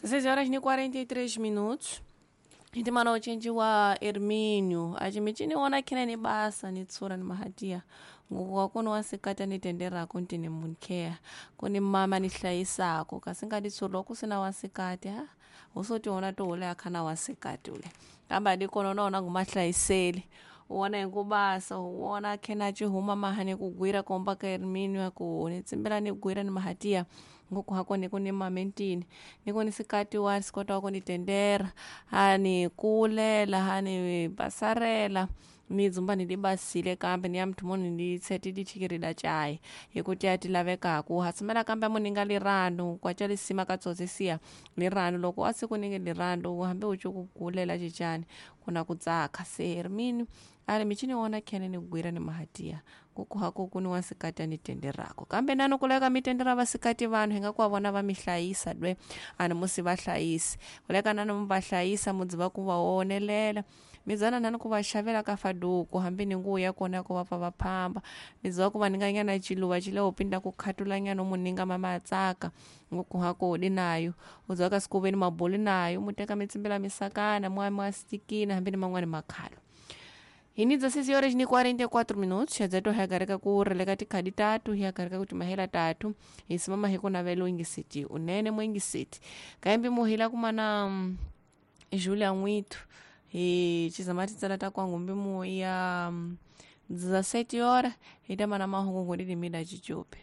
16 horas e 43 minutos. Hitimana uchenji wa Hermínio achimichini wona khene ni basa ni tsura ni mahatia nguku wa wasikati anitenderako ntini munkheya kuni mama ni hlayisako kasi ngati tsura kusina wasikati ha usotiona toule akhana wasikati ule kambe adikona unaona ngumahlayiseli uwona hikubasa uwona khena acihuma mahani kugwira komba ka Hermínio aku ni tsimbela ni gwira ni mahatia nguku hako niku ni mamentini niku ni sikati wa sikota wa kunitendera hani kulela hani basarela ni dzumba nilibasile kambe ni ya muthu muni ni tsheti dichikirida chai hikuti ya ti lavekaku hasimela kambe muninga liranu kwacha lisima katsotsisiya liranu loko a siku ninge liranu hambi uci ku kulela cicani kuna ku tsaka se Hermínio ali michini wona khene ni gwira ni mahatia kuku hako kuni wasikati anitenderako kambe nano kuleka mitendera vasikati vanhu hi nga ku va vona va mi hlayisa dwe ani musi va hlayisi kuleka nano mi va hlayisa mudzi va ku va onelela midzana nani ku va xavela ka faduku hambi ni nguvu ya kona ya ku va pfa va phamba midzi va ku va ninga nyana ciluva ci le upinda ku khatula nyana u mu ninga mama a tsaka nguku hako udi nayo udzi ka siku veni maboli nayo mu teka mi tsimbela misakana mwa mwa stikina hambi ni man'wani makhalo hini 16 horas ni 44 minutos xadzato hi yakareka ku releka tikhadi tatu hi yakareka ku timahela tatu hi simama hi ku navela uingisiti unene muingisiti kaimbi muhila kumana Julia N'withu hi cizama titsala ta kwangumbi mu ya 17 horas hi ta mana mahungu ngudidimida cicupi.